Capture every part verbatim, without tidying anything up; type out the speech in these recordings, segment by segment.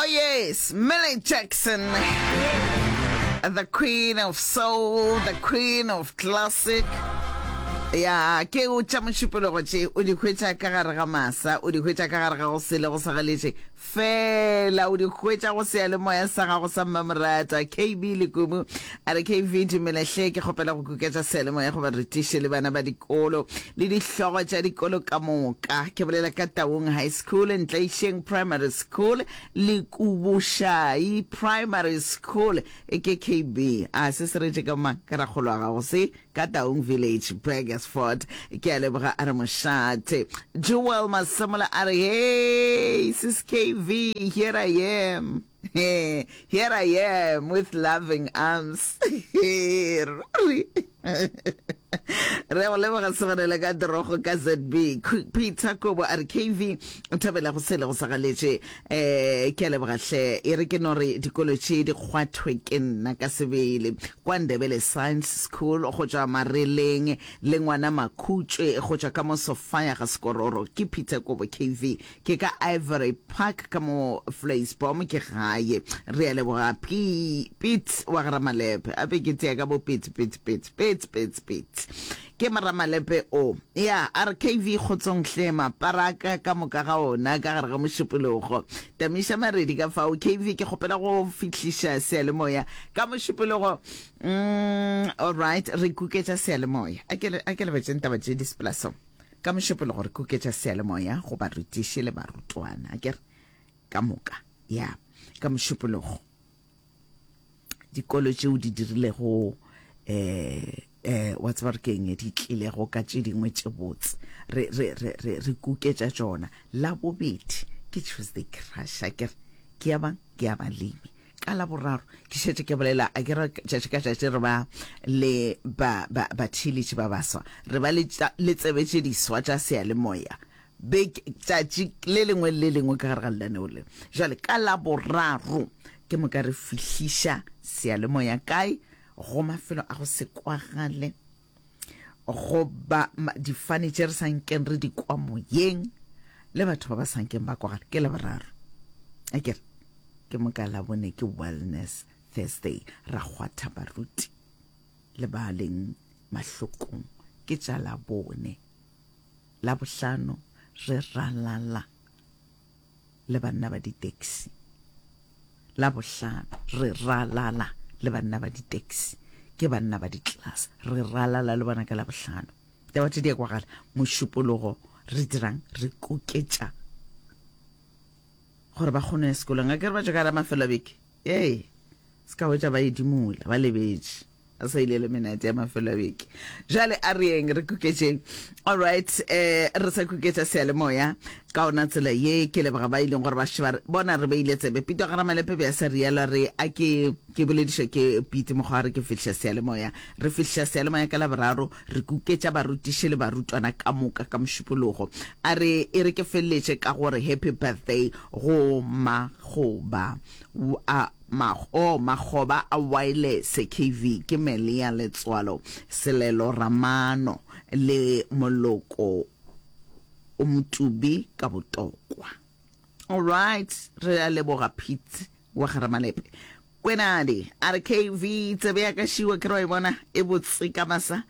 Yes, Millie Jackson, the queen of soul, the queen of classic. Ya ke o tša mošupologo tše o di hwetša ka gare ga masa, o di hwetša ka gare ga go sele go sa galetše fela, o di hwetša go seyalemoya sa gago sa mmamoratwa. K B Lekumu a re, K V, dumela hle, ke kgopela go kuketša seyalemoya goba re tiše le bana ba dikolo le dihlogo tša dikolo ka moka. Ke bolela ka Taung High School, Ntlaišeng Primary School le Kubušai Primary School. E ke K B a se se retše ka mang ka rakgolo wa gago se ka Taung Village, Burgersfort. Ke a leboga. A re mošate. Jewel Masemola a re, hey sis K V, here I am. Here I am with loving arms. Re go leboga segonele ka torogo ka Z B. Peter Kobo a re, K V, o thabela go sele go sa galetše. um ke a leboga hle. E re ke no re dikolo tše di kgwathwe ke nna ka sebele, kwa Ndebele Science School go tšwa Mareleng le ngwana Makhutšwe go tšwa ka mo Sofia ga Sekororo. Ke Peter Kobo. K V, ke ka Ivory Park ka mo Vleisbom ke gae. Re a leboga Pete wa ga Ramalepe. Ape ke tea ka bo Pete, Pete, Pete, Pete, Pete, Pete ke Moramalepe o ya. A re, K V, kgotsong hle, maparaka ka moka ga ona ka gare ga mošupologo. Tamiša Maredi ka fao. K V, ke kgopela go fihliša seyalemoya ka mošupologo. mm, alright re kuketša seyalemoya. A ke le betseng taba tše di sepelaso ka mošupologo. Re kuketša seyalemoya go barutiši le barutwana, a ke re ka moka ya ka mošupologo, dikolo tšeo di dirilego eh eh wa tseba re keng, di tlilego ka tše dingwe tše botse, re re re re re kuketša tšona. La bobedi ke Tuesday Crush, a ke re ke ya bang, ke ya balemi. Ka la boraro ke šetše ke bolela, a ke re tšatši ka tšatši re ba le ba ba batheeletši ba baswa, re ba le le tsebe tše diswa tša seyalemoya beke tšatši le lengwe le lengwe ka gare ga lenaneo le. Jwale ka la boraro ke moka re fihliša seyalemoya kae? Go mafelo a go se kwagale, goba difane tše re sa nkeng re di kwa moyeng le batho ba ba sa nkeng ba kwagala, ke la boraro. A kere ke moka la bone ke Wellness Thursday, ra kgwatha baruti le ba leng mahlokong, ke tša la bone. La bohlano re ralala le banna ba di-taxi. La bohlano re ralala le banna ba di-taxi, ke banna ba di-class, re ralala le bona ka la bohlano. Taba tše di ya kwagala. Mošupologo re dirang? Re koketša gore ba kgone ya sekolong. A ke re ba tšwa ka la mafelo a beke, ee, se ka hwetša ba edimola ba lebetše, a sa ile le menate ya mafelo a beke. Jale a re yeng re kuketšeng. Alright, eh re sa kuketša seyalemoya ka ona tsela ye. Ke leboga ba ileng gore ba še ba bona re beile tsebe. Pito ga Ramalepe be a sa rialo, re a ke ke boledišwa ke Pete mokgwa re ke fihliša seyalemoya. Re fihliša seyalemoya ka Laboraro, re kuketša barutiši le barutwana ka moka ka mošupologo. A re e re ke feleletše ka gore happy birthday go magoba a o makgoba a wireless. K V, ke Melia Letswalo Selelo Ramano le moloko o motubi ka botokwa. Alright, re a leboga Pete wa Garamalepe. Kwenadi a re, K V, tsebe ya ka šiwa ke re wa e bona e botse ka masa.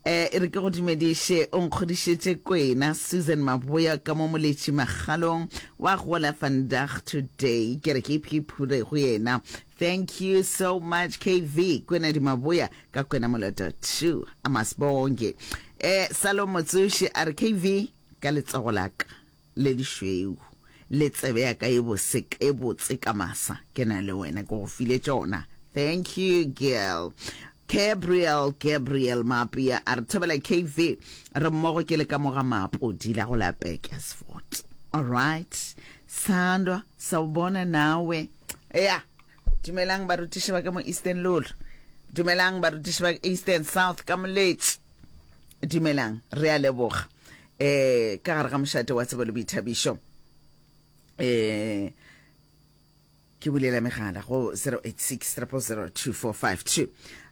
eh e re ke go dumediše, o nkgodišetše kwena Susan Maboya ka mo Moletši Magalong wa gola vandag today. Ke re ke iphiphule go yena. Thank you so much, K V. Kwena di Maboya ka kwena moloto two amasibonge. eh Salomo Tsoši a re, K V, ka letsogo la ka le lešweu le tsebe ya ka e bose e botse ka masa, ke na le wena, ke go file tšona. Thank you, girl. Gabriel Gabriel Mapia a re, thobela K V, re mmogo, ke le ka moga Mapodi la go la Burgersfort. Alright, sandwa sawubona nawe. Ya, dumelang barutiši ba ka mo Eastern Lolo, dumelang barutiši ba Eastern South ka Moletši, dumelang, re a leboga. eh ka gare ga mošate wa tsebo le boithabišo, eh ke bulela megala go zero eight six zero zero two four five two.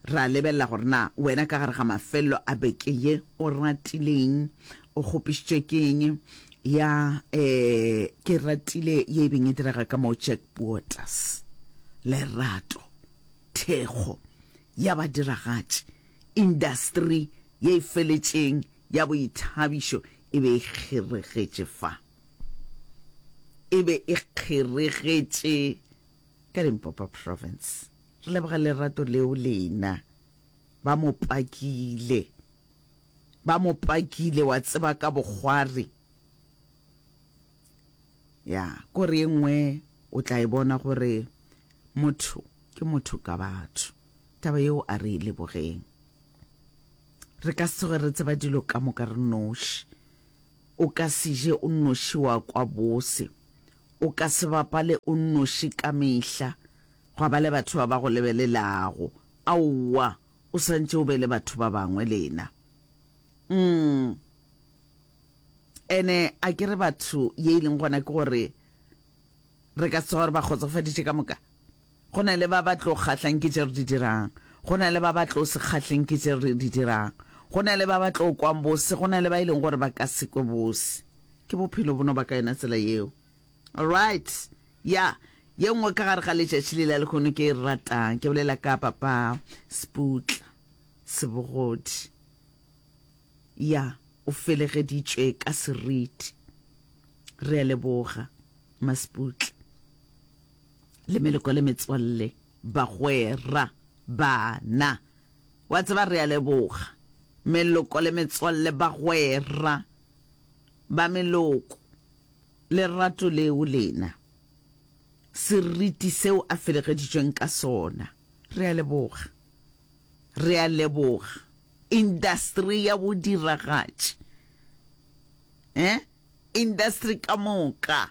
Ra lebelela gore na wena ka gare ga mafelelo a beke ye o ratileng, o kgopišitšwe ke eng, Ya, eh, ke ratile ye e beng e direga ka mo Jack Waters. Lerato, thekgo ya badiragatši, industry ye e feletšeng ya boithabišo e be e kgeregetše fa. E be e kgeregetše ka Limpopo Province. Re leboga lerato leo lena. Ba mo pakile. Ba mo pakile, wa tseba, ka bokgwari. Ya, kore ye nngwe o tla e bona gore motho ke motho ka batho. Taba yeo a re e lebogeng. Re ka se tsoge re tseba dilo ka moka re noši. O ka se je o nnoši wa kwa bose. O ka se bapale o nnoši ka mehla, gwa ba le batho ba ba go lebelelago. Aowa, o santše o be le batho ba bangwe lena. Mm. Ene a ke re batho ye e leng gona ke gore re ka se tsoga re ba kgotsofaditše ka moka. Go na le ba ba tlo kgahlang ke tše re di dirang. Go na le ba ba tlo se kgahleng ke tše re di dirang. Go na le ba ba tlo kwang bose, go na le ba e leng gore ba ka se kwe bose. Ke bophelo bo no ba ka yona tsela yeo. Alright. Ya, ye nngwe ka gare ga letšatši le la lehono ke e ratang, ke bolela ka papa Sputla Sebogodi. Ya, o felegeditšwe ka seriti. Re a leboga, Masputla. Le meloko le metswalle, bagwera, bana. Wa tseba, re a leboga. Meloko le metswalle, bagwera, ba meloko. Lerato leo lena. Seriti seo a felegeditšweng ka sona. Re a leboga. Re a leboga. Industry ya bodiragatši. Eh? Industry ka moka.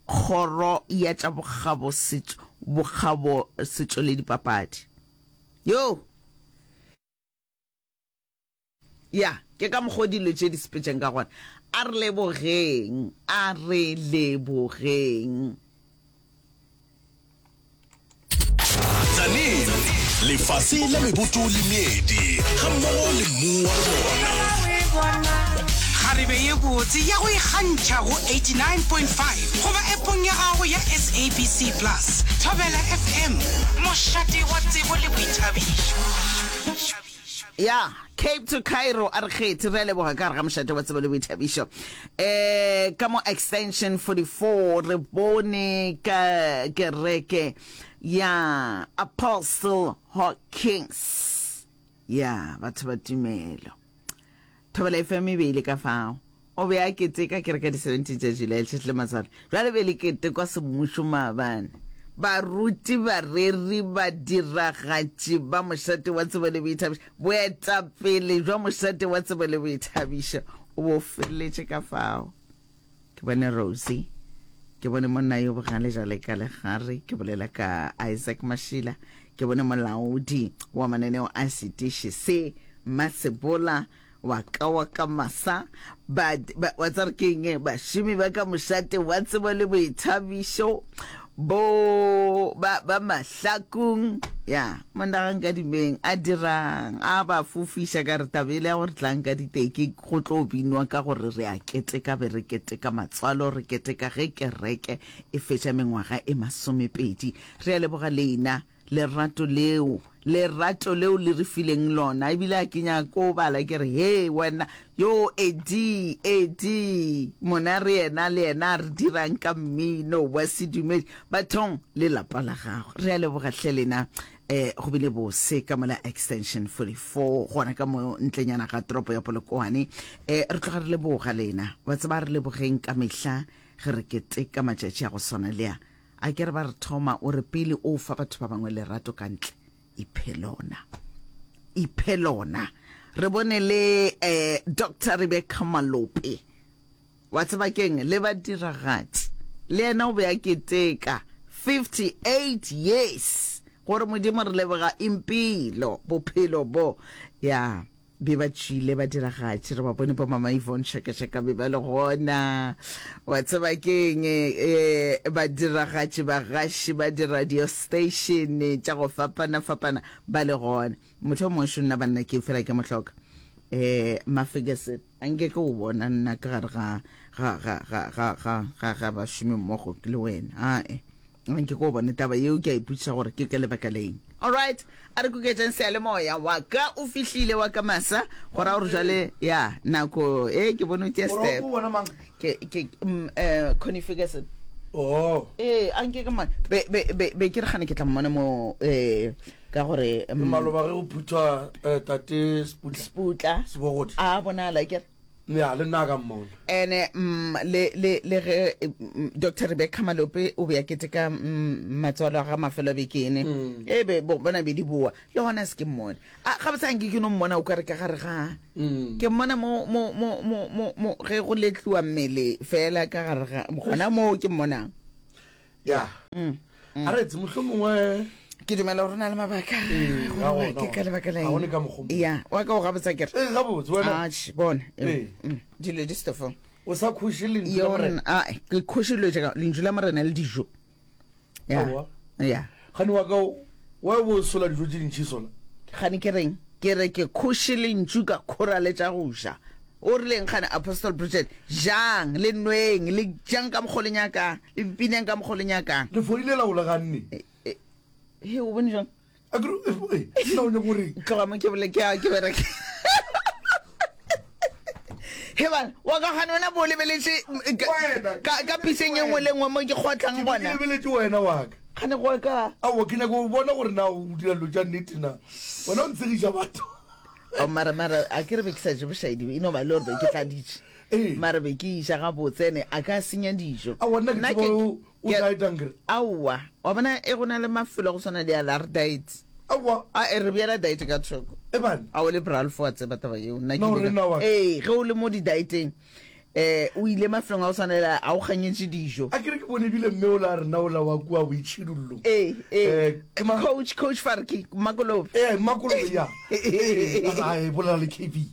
Kgoro ya tša bokgabo setšo, bokgabo setšo le dipapadi. Yo! Ya, ke ka mokgwa o dilo tše di sepetšeng ka gona. A re lebogeng, a re lebogeng. Tzaneen, lefase la meboto le meedi, gammogo le mmu wa lona. Kgarebe ye botse ya go ikgantšha go eighty-nine point five goba appong ya gago ya S A B C Plus. Thobela F M, mošate wa tsebo le boithabišo. Ya, Cape to Cairo, a re kgethe, re a leboga ka gare ga mošate wa tsebo le boithabišo. Eh, ka mo Extension forty-four re bone ka kereke ya Apostle Hawkins. Ya, batho ba tumelo. Thobela F M e be ile ka fao. O be a keteka kereke di seventeen tša July letšatši le matswalo. Jwale be le ketekwa semmušo maabane. Baruti, bareri, badiragatši ba mošate wa tsebo le boithabišo, boetapele bja mošate wa tsebo le boithabišo o bo feleletše ka fao. Ke bone Rosie, ke bone monna yo bogale jale ka legare, ke bolela ka Isaac Mashila, ke bone molaodi wa mananeo a setiši se Masebola wa ka wa ka masa, ba, ba, wa tsare ke eng, bašomi ba ka mošate wa tsebo le boithabišo, bo, ba, ba mahlakong, ya, monna ga nka dimeng, a dirang, a ba fofiša ka re taba ele ya gore tlang ka diteki, go tlo binwa ka gore re a keteka, be re keteka matswalo, re keteka ge kereke e fetša mengwaga e masomepedi. Re a leboga lena, lerato leo, lerato leo le re fileng lona. Ebile a ke nyako bala ke re, he wena, yo Eddie, Eddie, mona re yena le yena re dirang ka mmino wa sedumedi, bathong le lapa la gago. Re a leboga hle lena, eh, go bile bose ka mola Extension forty-four, gona ka mo ntlenyana ga toropo ya Polokwane. Eh, re tloga re leboga lena, wa tseba re lebogeng ka mehla ge re keteka matšatši a go swana le a. A ke re ba re thoma o re pele o fa batho ba bangwe lerato ka ntle, iphe lona, iphe lona. Re bone le, eh, Doctor Rebecca Malope, wa tseba keng, le badiragatši, le yena o be a keteka fifty-eight years, gore Modimo re leboga impilo, bophelo bo. Ya, be ba tšwile badiragatši, re ba bone bo Mama Yvonne Shakashaka be ba le gona. Wa tseba keng, eh, badiragatši, bagaši ba di-radio station tša go fapana-fapana ba le gona. Motho o mongwe šo nna banna ke fela ke mohloka. Eh, Maferguson, a nke ke o bona nna ka gare ga, ga ga ga ga ga ga ga bašomi mmogo le wena. Ae, nke ko bone taba yeo, ke a ipotšiša gore ke ka lebaka leng. Alright, a re kuketšeng seyalemoya wa ka o fihlile wa ka masa, go ra gore jale ya nako e ke bone o tia step. O bona mang? Ke ke mm, eh Connie Ferguson. Oh. Ee, a nke ke mmone. Be be be be ke re gane ke tla mmona mo eh ka gore mm, Maloba ge go phuthwa eh, tate Sputla. Sputla. Sebogodi. A bonala ke re. Ya, le nna ka mmona. Ene mm, le le le ge mm, Doctor Rebecca Malope o be a keteka mm, matswalo a ga mafelo a bekene. Mm. E be bo bona be di boa. Le gona se ke mmone. A ga botsa nke ke no mmona o ka re ka gare ga. Mm. Ke mmona mo mo mo mo mo mo ge go letliwa mmele fela ka gare ga gona mo ke mmonang. Ya. Mm. A re tse mohlomongwe Ke dumela gore o na le mabaka. Ee, Gore ga wa- gona, ke ka lebaka la ga eng. gone ka mokgwa o mongwe. Ya, wa ka o gabotsa ke re. Eh, gabotse wena. Atjhe, bona. Ee. Mm, Dilo di stofong. O sa khoše lentšu la Morena. Yona, a ke khoše dilo tša ka, lentšu la Morena le dijo. Ya. Aowa. Ya. Gane wa ka o- wa bo sola dijo tše dintši sola. Gane ke reng? Ke re ke khoše lentšu ka khora le tša go ja. O rileng gane Apostle Bridget? Jang le nweng, le jang ka mokgo le nyakang, le pineng ka mokgo le nyakang. Le fodile la o le ganne. He, o bone jang? A ke re, eh, eh, nna o nyaka gore Tloga mo ke bole ke a ke bereke. He bana, wa ka gane wena bo o lebeletše mm, ka- Wena. ka ka piseng e nngwe le nngwe mo ke kgotlang ke gona. lebeletše wena wa ka. Gane go ka. Aowa, ke nyaka go bona gore na o dira dilo tša nnete na. Wena o ntshegiša batho. Oh, mara mara a ke re be ke sa je bošaedi, e no ba le gore be ke tladitše. Ee. Mara be ke iša gabotse ene a ka senya dijo. Aowa, nna ke Nna tseba ke- o- o ke- dietang kere. Aowa, wa bona e go na le mafelo a go swana le a la re diet. Aowa. A e re beela diet ka thoko. E bana. A o le Ralph wa tseba taba yeo. Nna ke No, ile ka- re nna wa ka. Ee, ge o le mo di-dieteng, eh o ile mafelong a go swana le a, a o kganyetše dijo. A ke re ke bone ebile mme o la rena o la wa kua boitšhidullong. Ee, ee. Eh, ke ma- Coach, Coach Farki, Makolobe. Eh, Makolobe, ya. Eh, a re, bolela le K B.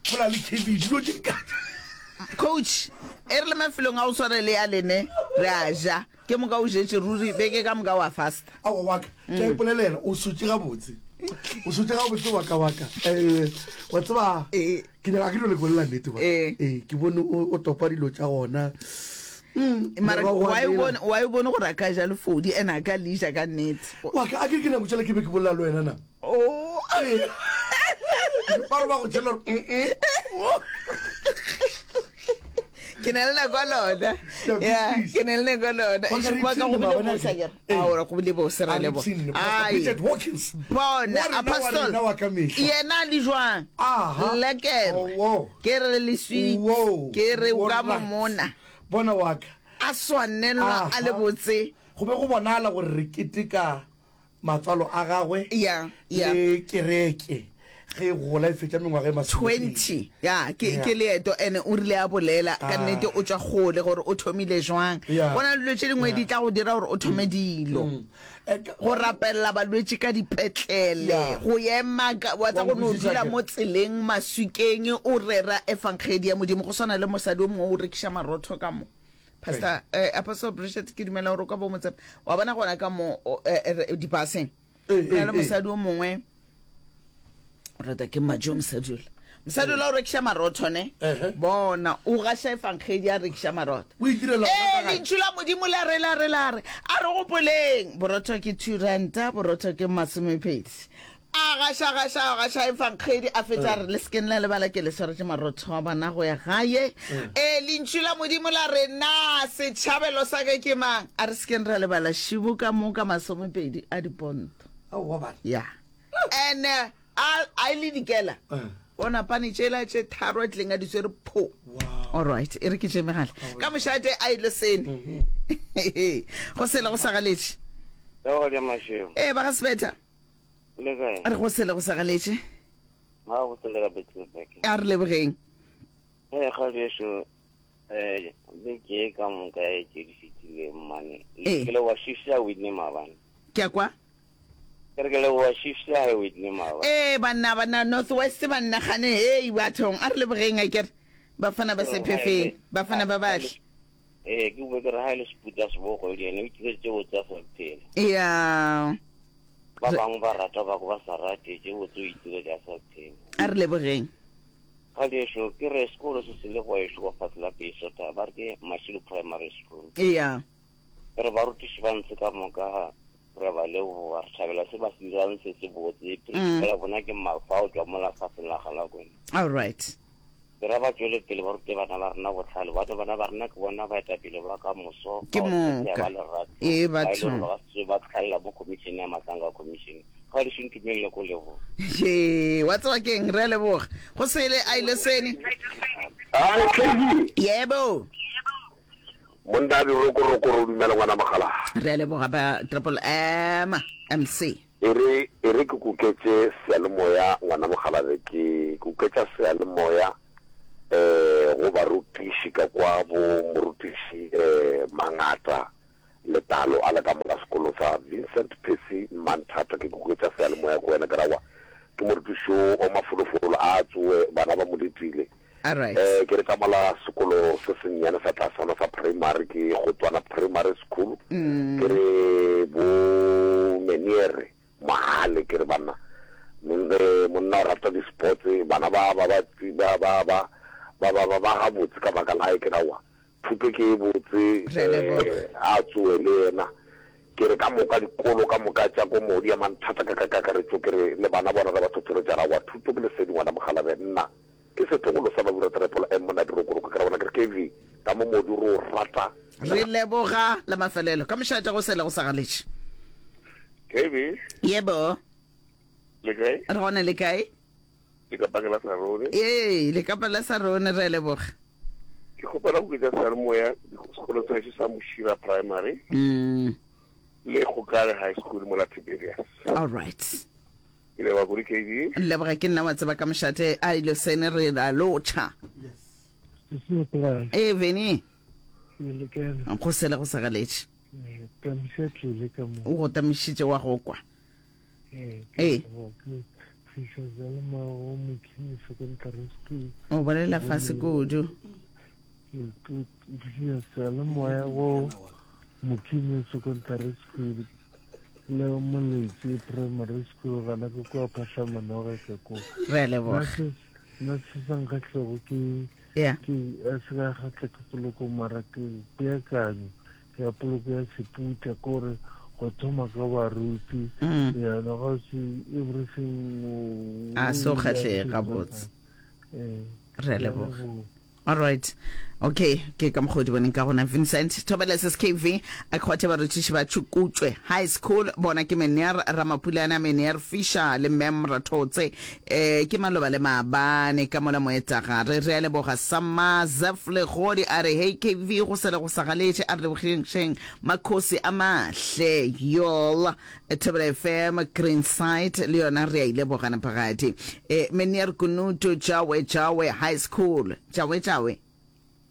Bolela le K B, dilo tše di ka- Coach, e re le mafelong a go swana le a lene, re a ja. Ke moka o jetše ruri, beke ka moka wa fasta. Aowa, wa ka, ke a ipolelela, o sotše gabotse. O sotše gabotse wa ka, wa ka. Eh, wa tseba, Eh. ke nyaka ke dilo le bolela nnete wa. Eh. Eh, ke bone o, o topa dilo tša gona. Mm, Mara morogo wa wa e lela. bone, wa e bone gore a ka ja lefodi ene a ka le ja ka nnete. Wa ka, a ke ke nako tšela ke be ke bolela le wena na? Oh. Eh. Ba re ba go tšela gore, mm, mm. Ke na le nako ya lona. Ya, Ya, please. ke na le nako ya lona. Wa ka re Wa ka go ipshine bile maabane bose a akere? ke. Ao, re go bile bose, ra A re leboga. ipshine, Pastor Ai. Bridget Watkins. Bona, Wa rena, wa Apostle. rena wa ka mehla. Yena a le jwang? Aha. Lekker. Oh, wow. Ke re le sweet. Wow. Ke re o ka Alright. momona. Bona wa ka. A swanelwa a le Aha. botse. Go be go bonala gore re keteka matswalo a gagwe Ya, ya. le kereke ge e gola e fetša mengwaga e masomepedi. twenty. Ya, ke Yeah. ke leeto ene o rile a bolela ka Ah. nnete o tšwa kgole gore o thomile jwang. Yeah. Go na le dilo tše dingwe di tla go dira gore o thome dilo. Mm. Eh, ka- Go rapelela balwetši ka dipetlele, Yeah. go ema ka wa tsa Wa go no nkwešiša dula ke- mo tseleng maswikeng o rera efankgedi ya Modimo go swana le mosadi o mongwe o rekiša marotho ka mo. Pastor eh, Apostle Bridget ke dumela gore o ka bo mo tseba. Wa bona gona ka mo o, eh, eh, dipaseng. Eh, Go na eh, le eh. mosadi o mongwe o rata ke majo mosadi ola. Mosadi ola o rekiša marotho ne. Ehe. Bona o gaša efankgedi a rekiša marotho. O itirela Ee, gona ka gae. lentšu la Modimo la re la re la re a re gopoleng borotho ke two ranta borotho ke masomepedi a gaša gaša a gaša efankgedi a fetša a re le sekeng la lebala ke le swaretše marotho a bona go ya gae ee lentšu la Modimo la re na setšhabelo sa ka ke mang a re sekeng ra lebala šibo ka mo ka masomepedi a diponto Aowa, bana. ya and a a ile dikela Eh. bona pane tšela tše tharo a tlileng a di swere pho. Wow. All right, e re ke tše megala ka mošate a ile sene go sele go sa galetše. Leo le mašego. Ee, ba ga Sebetha. Le kae? A re go sele go sa galetše. Ga go sele ka Betlehem. A re lebogeng. Eh ga bešo eh beke e ka moka e tše di fetileng mane. Ee. Ke le wa shifta Whitney maabane. Ke a kwa. Ke re ke le wa shifta Whitney maabane. Ee, banna banna North West banna gane hei bathong a re lebogeng a kere bafana ba sephefeng bafana ba batle. Eh ke bue ke re ha e le seputa sebogo le ene o itire tše botse a sa phela. Ya, Ba bangwe ba rata ba ba sa rate tše botse o itire di a sa phela. a re lebogeng. Galeso ke re sekolo se se le go ešo kwa fatshe la Peisota ba re ke Mashilo Primary School. Eya. Ke re barutiši ba ntse ka moka re ba leboga re thabela se ba se dirang se se botse. Principal ya bona ke Mafa o tšwa mola faseng la Galakwe. All right. Ke ra ba tšwele pele ba rute bana ba rena bohlale bane bana ba rena ke bona baetapele ba ka moso Ke moka. ba lerato Ee, ba e le batho. gore ba se ba tlhalela mo commission ya Matlanga Commission ga di šontumelele ko leboga. Ye, wa tseba keng re a leboga go sele a ile sene Ai K V. Yebo. Monna dirokorokoro dumela ngwana mogala. Re a leboga ba Triple M M C. E re e re ke kuketše seyalemoya ngwana mogala be ke kuketša seyalemoya eh go barutiši ka kwa bo morutiši eh Mangata Letalo a le ka mola sekolo sa Vincent Percy Manthata ke kuketša seyalemoya ko wena ke rawa ke morutiši o o mafolofolo a tsoe bana ba mo letile Alright. Eh ke re ka mola sekolo se sennyane sa tlasana sa primary ke Gotwana Primary School ke re bo Meniere Mohale ke re banna monna o rata di-sports bana ba ba ba ba ba ba ba ba ba ba gabotse ka baka la ke rawa thuto ke e botse Re a leboga. eh, a tsoe le yena ke re ka moka dikolo ka moka tša ko modi ya manthata ka ka kakaretšo ke re le bana bona re ba tlhotlheletša rawa thuto ke lesedi ngwana mogalabe nna ke setlogolo sa Babura Triple M monna dirokoroko ke ra bona ke re K V ka mo modi re o rata Re leboga la mafelelo ka mošate go sele go sa galetše. K V. Yebo. Le kae? Re gona le kae? Le ka pakela sa rone. Ee, le ka pala sa rone re a leboga. Ke kgopela go ketsa seyalemoya sekolo sa gešo sa Moshira Primary. Mm. Le Gokare High School mo la Tiberias. All right. Ke leboga kudu K V. Leboga ke nna wa tseba ka mošate a ile sene re la lotšha. Yes. Ee, Veni. Le kae? Go sele go sa galetše. Tamiša tlile ka mo. O go tamišitše wa go kwa. Ee. Ee. Fiša seyalemoya go Mokini Secondary School. O bolela fase kudu. Fiša seyalemoya go Mokini Secondary School le Moletsi Primary School gana ke kua Phatlhamanoge ka ko. Re a leboga. Nna se sa nkgahlego ke Yeah. ke a se ka kgahla ke poloko mara ke peakanyo ya poloko ya seputla kore go thoma ka baruti Mm. yana ga se everything A se o kgahlege gabotse. Eh, Re a leboga. All right. Okay, ke ka mokgwa o di boneng ka gona Vincent Thobela S S K V a kgwathe barutiši ba Tšhukutšwe High School bona ke Meneer Ramapulana Meneer Fisher le Mem Rathotse eh ke maloba le maabane ka mola moetagare re a leboga Sama Zef Legodi a re hey K V go sele go sa galetše a re lebogeng makhosi a mahle yol Thobela F M Greenside le yona re a ile bogana phagadi eh Meneer Kunutu Jawe Jawe High School Jawe Jawe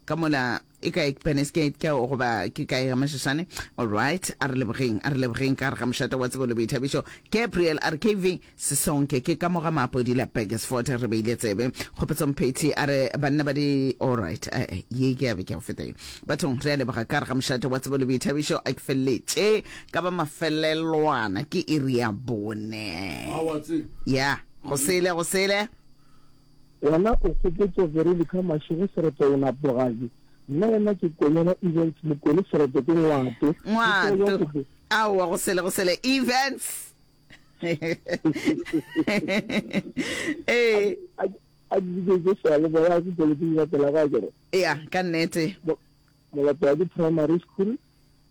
ka mola e kae Penesgate ka goba ke kae ga Mashashane. All right, a re lebogeng a re lebogeng ka re ga mošate wa tsebo le boithabišo Gabriel a re K V sesonke ke ka moga maapodi la Burgersfort re beile tsebe Kgopetso Mphethi a re banna ba di all right eh ye ke a be ke go feta ye bathong re a leboga ka re ga mošate wa tsebo le boithabišo a ke feleletše ka ba mafelelwana ke iri ya bone ya go sele go sele Wena o kgopotso Veronica Mashego sereto o napogadi nna yena ke konyana Events Mokone sereto ke ngwato ngwato aowa go sele go sele Events ee a di seyalemoya ke tsweletse di latela ka kere ya ka nnete Molapedi Primary School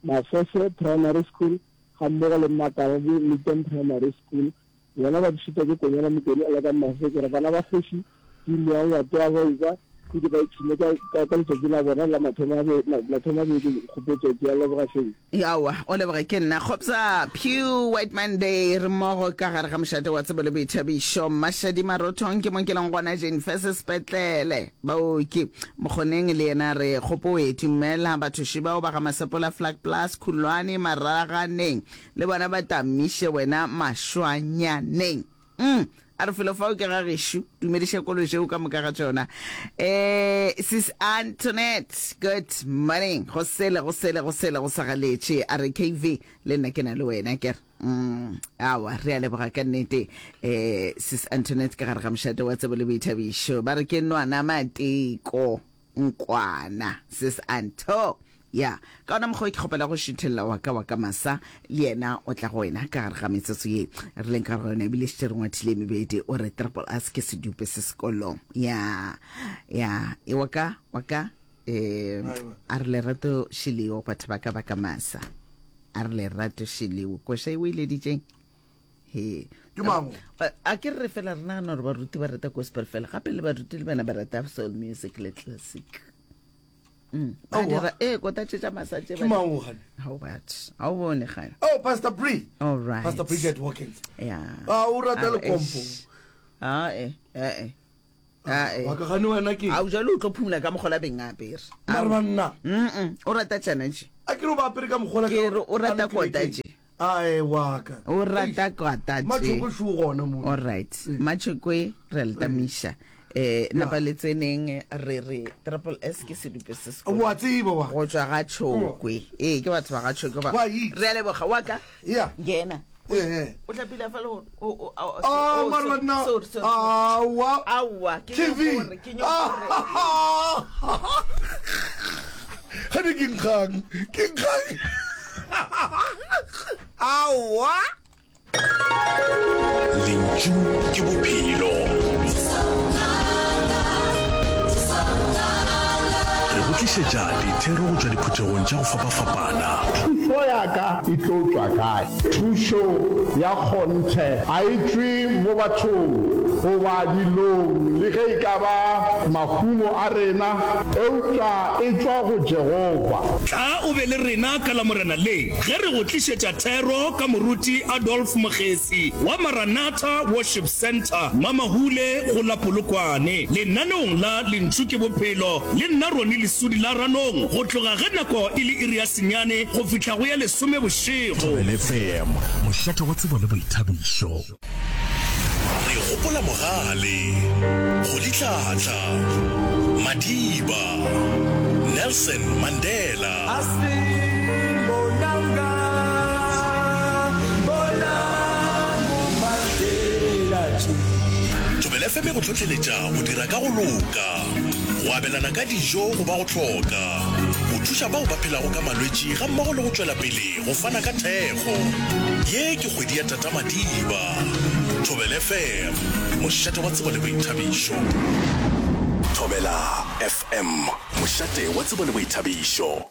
Mafefe Primary School ga mmogo le Makarabe Leton Primary School yona ba dišita ke konyana Mokone a le ka Mafefe ke re bana ba kgoši ke ile ya ngwato wa boiba ke ba ipshine ka ka letšatši la bona la mathomo a mathomo a beke kgopotso ke a leboga feng Yawa o leboga ke nna Kgopsa Pew White Monday re mmogo ka gare ga mošate wa tsebo le boithabišo Mashadi Marothong ke mo ke leng gona Jane Fese sepetlele baoki Mokgoneng le yena re kgopoe dumela bathoši bao ba ga Masepola Flag Plus Khulwane Maraganeng le bona ba tamiše wena Mashwanyaneng mm A re felo fao ke ga gešo. Dumediša kolo tšeo ka moka ga tšona. Eh, sis Antoinette, good morning. Go sele, go sele, go sele, go sa galetše. A re K V, le nna ke na le wena, ke re. Mm, awa, re a leboga ka nnete. Eh, sis Antoinette ka gare ga mošate wa tsebo le boithabišo. Ba re ke nwana mateko, nkwana, sis Anto. Ya, ka ona mokgwa ke kgopela go šuthelela wa ka wa ka masa, le yena o tla go wena ka gare ga metsotso ye re leng ka gare ga yona, ebile šetše re ngwathile mebedi, o re triple S ke sedupe se sekolong. Ya, ya, e wa ka, wa ka, eh, a re lerato šileo batho ba ka ba ka masa. A re lerato šileo, koša e o e leditšeng? He. Ke mang? A, a ke re fela re nagana gore baruti ba rata gospel fela, gape le baruti le bana ba rata soul music le classic. Mm. Ba Aowa. dira, eh, kota tše tša masa tše Ke ba mang o gane? Ha o batho. Ha o bone gane. Oh, Pastor Bree. All right. Pastor Bridget Watkins. Yeah. Ah, o rata Ah, lekompo. eish. Ah, eh, eh, eh. Ah, eh. Wa ka gane wena ke? A o jalo o tlo phumula ka mogola beng a apere. Mara banna. Mm-mm. O rata tšana tše. A ke re o ba apere ka mogola ka Ke re o rata a le kota kerekeng. tše. Ae, wa ka. O rata kota tše. Matšhokwe šo gona mo. All right. Matšhokwe re a le tamiša. Eh, napa le tseneng re re triple S ke sedupe se sekolo. Wa tseba wa. Go tšwa ga Tšhokwe. Ee, ke batho ba ga Tšhokwe ba. Wa itse. Re a leboga wa ka. Yeah. Ngena. Eh, eh. O hlapile fa le gore o o o Ah, oh, mara sorry, banna. sorry, sorry, sorry. Ah, wa. Aowa, ke T V. nyoko gore, ke nyoko gore. Ah. Gane ke nkgang, ke nkgang. Aowa. Lentšu ke bophelo. Re go tlišetša dithero go tšwa diphuthegong tša go fapafapana. Thušo ya ka e tlo tšwa kae? Thušo ya kgonthe a e tšwe mo bathong goba dilong le ge e ka ba mahumo a rena, eupša e tšwa go Jehofa. Tla o be le rena ka Lamorena le ge re go tlišetša thero ka moruti Adolf Mogesi wa Maranatha Worship Center, Mamahule go la Polokwane, lenaneong la Lentšu ke Bophelo le nna Ronnie Lesudi la Ranong, go tloga ge nako e le iri ya senyane go fihla go ya lesome bošego. Thobela F M, mošate wa tsebo le boithabišo. Re gopola Mogale, Rolihlahla, Madiba, Nelson Mandela. Thobela F M e go hlohleletša go dira ka go loka, go abelana ka dijo go ba go hloka, go thuša bao ba phelago ka malwetši ga mmogo le go tšwela pele go fana ka thekgo. Ye ke kgwedi ya Tata Madiba. Thobela F M, mošate wa tsebo le boithabišo. Thobela F M, mošate wa tsebo le boithabišo.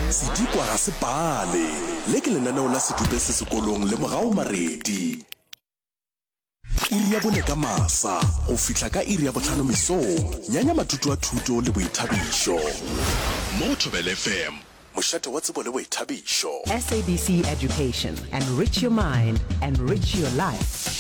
Sedikwa ga se pale. Le ke lenaneo la sedupe se sekolong le Mogao Maredi. Iri ya bone ka masa go fihla ka iri ya bohlano mesong, nyanya matuto a thuto le boithabišo. Mo Thobela F M, mošate wa tsebo le boithabišo. S A B C Education, enrich your mind, enrich your life.